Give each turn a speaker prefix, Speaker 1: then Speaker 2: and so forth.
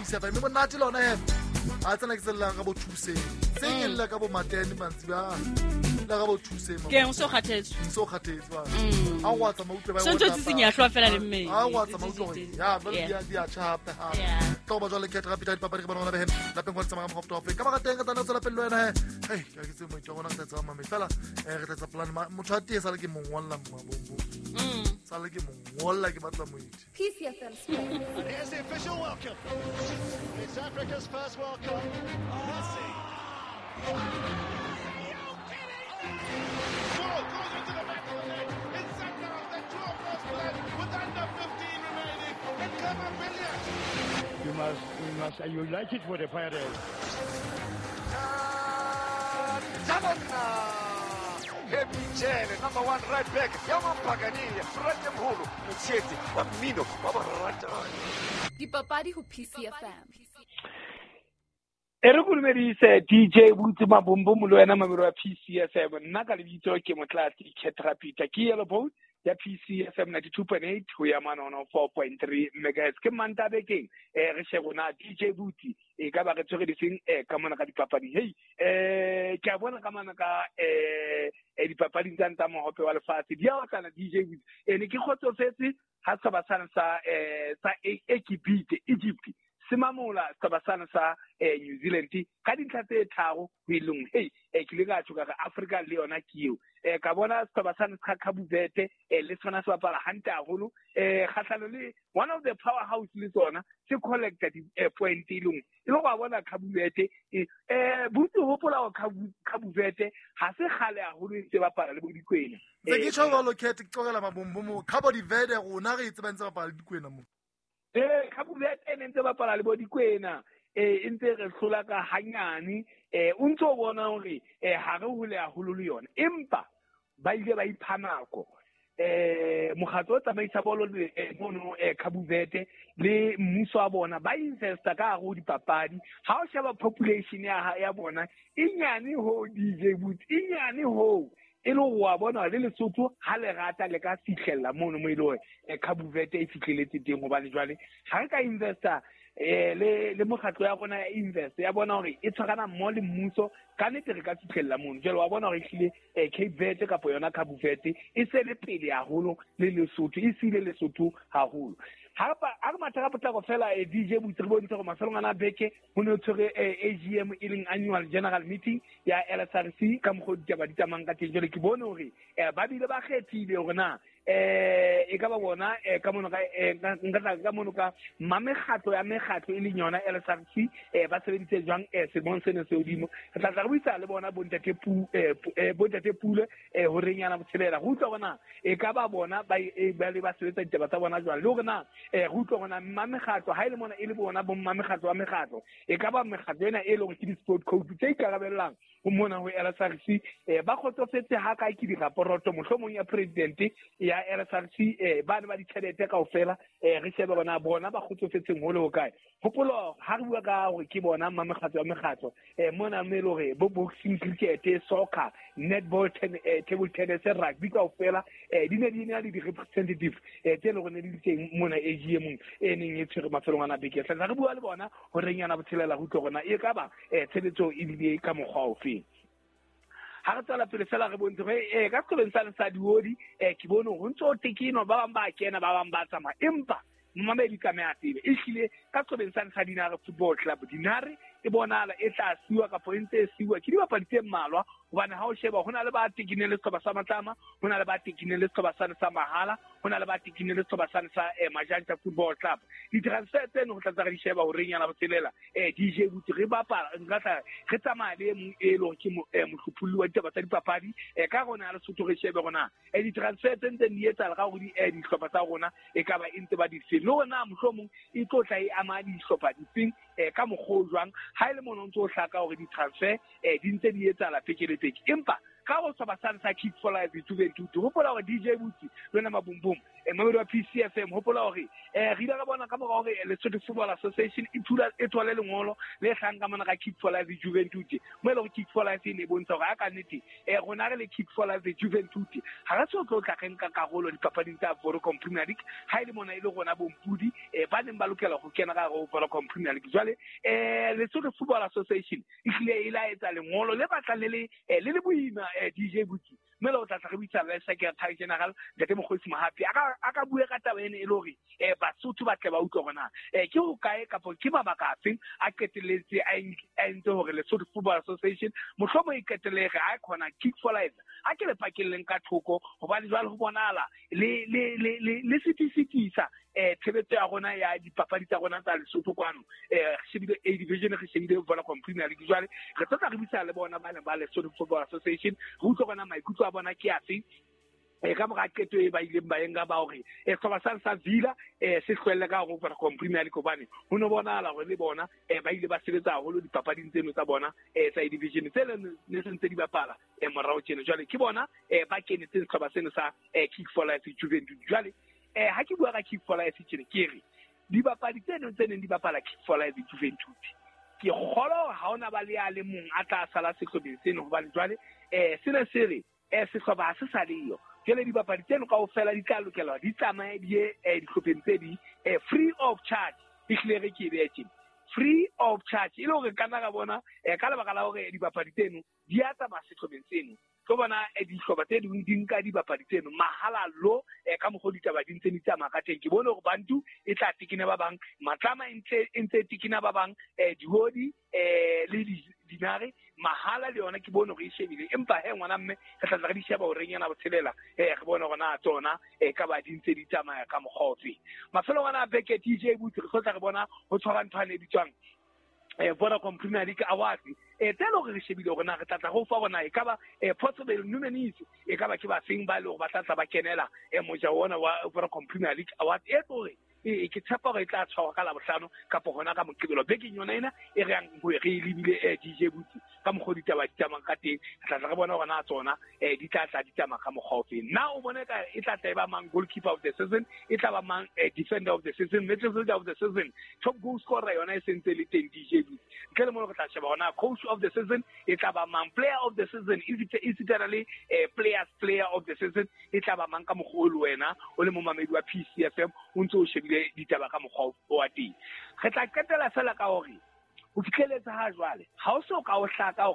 Speaker 1: PCFM mme monate le ona he a tsena ke tsellang ka bo thuseng se ke lla ka bo matene mantsi ba la ka bo thuseng
Speaker 2: Ke eng o so kgathetse?
Speaker 1: So kgathetse ba a wa tsamaya utlwe ba
Speaker 2: So ntse o tsitsinya hlooho fela le mmele.
Speaker 1: A wa tsamaya utlwe hore ya jwale di a tjha hape hape. Tlo ba jwale khetha rapita dipapadi ke bona ngwana behe lapeng kwa tsamaya ka mokgwa wa ka baka teng ka tsana tswela pele le wena he hey ke ke tse moitwa rona re tla tsamaya mame fela re tla etsa plan. Motho a tee sale ke mo ngolla mabombo sale ke mo ngolla ke batla moeti.
Speaker 3: PCFM Sports.
Speaker 4: Here's the official welcome. It's Africa's first World Cup. Messi. Ball goes into the back of the net. It's Sakharov that draw first blood with under 15 remaining. And Khama Billiat.
Speaker 5: You must, you like it for the Pirates.
Speaker 6: Happy Jele, number one right back, ya Mapagania, Frate Mholo, motsheetsi wa mmino wa boratani.
Speaker 3: Dipapadi ho PCFM.
Speaker 7: E re kolomedise DJ Butse Mabombo le wena mamelo wa PCFM. Nna ka lebitso ke Motlatsi Ketrapita, ke Yellow Boat ya PCFM 92.8 ho ya manono 4.3 megahertz. Ke Mantaha bekeng re shebe na DJ Butse e ka ba re tshwere difeng ka mona ka dipapading. Hey, ke a bona ka mona ka dipapading tsa ntsa mohope wa lefatshe di a otlana DJ Butse. Ne ke kgotsofetse ha setjhaba sane sa Egypt se mamola setjhaba sane sa New Zealand ka dintlha tse tharo ho e lengwe. Hey, ke ile ka tjho ka re Afrika le yona ke eo. Ka bona setjhaba sane sa Cabo Verde le sona se bapala hantle haholo kgahlano le one of the powerhouse le tsona se collecta di point e lengwe. E le go bona Cabo Verde botse hopola hore Cabo Verde ha se kgale haholo e ntse bapala le bo dikwena.
Speaker 1: Ntse ke tjho jwalo Cat, ke tlogela mabombo mo Cabo Verde rona re e tseba ntse bapala le dikwena mo.
Speaker 7: Cabo Verde e ne ntse bapala le bo dikwena e ntse re hlola ka hanyane o ntso bona hore ha re hole haholo le yona, empa ba ile ba ipha nako. Mokgatlo o tsamaisa bolo le mono Cabo Verde le mmuso wa bona ba investa ka hare ho dipapadi. Ha o sheba population ya bona e nyane ho DJ Boots, e nyane ho e le hore wa bona le Lesotho ha le rata le ka fihlella mono mo e le hore Cabo Verde e fihlelletse teng. Hobane jwale ha re ka investa le mokgatlo ya rona ya invest ya bona hore e tshwarana mmoho le mmuso, ka nnete re ka fihlella mono. Jwale wa bona hore ehlile Cape Verde kapa yona Cabo Verde e se le pele haholo le Lesotho, e siile Lesotho haholo. Ha re matha ka potlako fela DJ Boots re bontshe hore mafelong ana a beke ho ne ho tshwere AGM e leng Annual General Meeting ya LSRC ka mokgwa o ditaba di tsamayang ka teng. Jwale ke bone hore ba bile ba kgethile hore na e ka ba bona ka mono ka nka tla ka mono ka mamekgatlo ya mekgatlo e leng yona LSRC ba sebeditse jwang selemong sena se hodimo. Re tla tla re buisana le bona bontate Pule horeng yana botshelela re utlwa hore na e ka ba bona ba le ba sebetsa ditaba tsa bona jwang, le hore na re utlwa hore na mamekgatlo ha e le mona e le bona bo mamekgatlo wa mekgatlo e ka ba mekgatlo ena e leng hore ke di-sport coach tse ikarabellang ho mona ho LSRC ba kgotsofetse ha kae ke diraporoto mohlomong ya president ya LSRC ba ne ba ditjhelete kaofela re shebe bona bona ba kgotsofetseng ho le ho kae. Hopolo ha re bua ka hore ke bona mamekgatlo wa mekgatlo mona mme e le hore bo boxing, cricket, soccer, netball, table tennis, rugby kaofela di ne di na le di-representative tse leng hore ne di le teng mona AGM e neng e tshwere mafelong ana beke. Tla re bua le bona horeng yana botshelela re utlwe hore na e ka ba tshebetso e bile ka mokgwa ofe. Ha re tswela pele fela re bontshe hore ka sekolong sane sa Diodi ke bone hore ho ntso ho tekenwa, ba bang ba kena, ba bang ba tsamaya, empa momamedi tlameha a tsebe ehlile ka sekolong sane sa Dinare Football Club, Dinare e bonahala e tla siwa kapa e ntse e siwa ke dibapadi tse mmalwa. Hobane ha o sheba ho na le ba tekineng le sehlopha sa Matlama, ho na le ba tekineng le sehlopha sane sa Mahala, ho na le ba tekineng le sehlopha sane sa Majantja Football Club. Di-transfer tseno ho tla tla re di sheba horeng yana botshelela DJ Boots re bapala nka tla re tsamaya le e mong e leng hore ke mohlopholli wa ditaba tsa dipapadi ka rona ya Lesotho re shebe hore na di-transfer tse ntseng di etsahala ka hore dihlopha tsa rona e ka ba e ntse ba di feng, le hore na mohlomong e tlo tla e ama dihlopha difeng ka mokgwa o jwang. Ha e le mona o ntso o hlaka hore di-transfer di ntse di etsahala peke le peke, empa Ka go sehlopha sane sa Kick for Life Juventus, hopola hore DJ Butsi le wena Mabumbum, mamedi wa PCFM, hopola hore re ile ra bona ka mora hore Lesotho Football Association e thula e thole lengolo le hlang ka mona ka Kick for Life Juventus, mo e leng hore Kick for Life e ne e bontsha hore a ka nnete rona re le Kick for Life Juventus ha re so tlo tla re nka karolo dipapading tsa Vodacom Premier League, ha e le mona e le rona bompudi ba neng ba lokela ho kena ka hare ho Vodacom Premier League. Jwale Lesotho Football Association e hlile e la etsa lengolo le batlang le le boima, DJ Butsi, mme le o tla tla re buisana le Secretary General Ntate Mokgosi Mohapi a ka bue ka taba ena e le hore Basotho ba tle ba utlwe hore na ke hokae kapa ke mabaka afeng a qetelletse a entse hore Lesotho Football Association mohlomong e qetelle re a khona Kick for Life a ke le pakelleng ka thoko, hobane jwale ho bonahala le sitisitisa tshebetso ya rona ya dipapadi tsa rona tsa Lesotho kwano. Re shebile A Division, re shebile Vodacom Premier League. Jwale re tlo tla re buisana le bona ba neng ba Lesotho Football Association, re utlwe hore na maikutlo a bona ke afe ka mora qeto e ba ileng ba enka ba hore sehlopha sane sa Villa se hlwelle ka hare ho Vodacom Premier League, hobane ho no bonahala hore le bona ba ile ba sebetsa haholo dipapading tseno tsa bona tsa A Division tse ne se ntse di bapala morao tjena. Jwale ke bona ba kenetseng sehlopha seno sa Kick for Life Juventus. Jwale ha ke bua ka Kick for Life tjena, ke re dibapadi tseno tse neng di bapala Kick for Life Juventus, ke kgolwa hore ha hona ba le a le mong a tla sala sehlopheng seno, hobane jwale sena se re sehlopha ha se sa leyo. Jwale dibapadi tseno kaofela di tla lokela di tsamaye di ye dihlopheng tse ding free of charge. Ehlile re ke e behe tjena, free of charge, e le hore ka nna ra bona ka lebaka la hore dibapadi tseno di a tsamaya sehlopheng seno, tlo bona dihlopha tse ding di nka dibapadi tseno mahala lo. Ka mokgwa ditaba di ntse di tsamaya ka teng, ke bone hore Bantu e tla tekena ba bang, Matlama e ntse tekena ba bang, Dihodi le Dinare mahala le yona ke bone hore e shebile. Empa he ngwana mme re tla tla re di sheba horeng ena botshelela, re bone hore na tsona ka ba di ntse di tsamaya ka mokgwa ofe. Mafelong ana a beke, DJ Butsi, re tlo tla re bona ho tshwara ntho ane e bitswang Vodacom Premier League Awards, tse leng hore re shebile hore na re tla tla re o fa hore na e ka ba possible nominees, e ka ba ke ba feng ba e leng hore ba tla tla ba kenela mojaho ona wa Vodacom Premier League Awards, e tlo hore ke tshepa hore e tla tshwarwa ka Labohlano kapa hona ka Moqebelo bekeng yona ena e re yang ho re e lebile, DJ Butsi, ka mokgwa ditaba di tsamayang ka teng. Re tla tla re bona hore na tsona di tla tla di tsamaya ka mokgwa ofeng. Na o bone ka e tla tla e ba mang goalkeeper of the season, e tla ba mang defender of the season, midfielder of the season, top goal scorer yona e sentse le teng, DJ Butsi. Ntle le mono re tla sheba hore na coach of the season e tla ba mang, player of the season e sitana le players player of the season e tla ba mang, ka mokgwa o le wena o le momamedi wa PCFM o ntse o shebile ditaba ka mokgwa wa teng. Re tla qetela fela ka hore ho fihleletse ha jwale ha o so ka o hlaka hore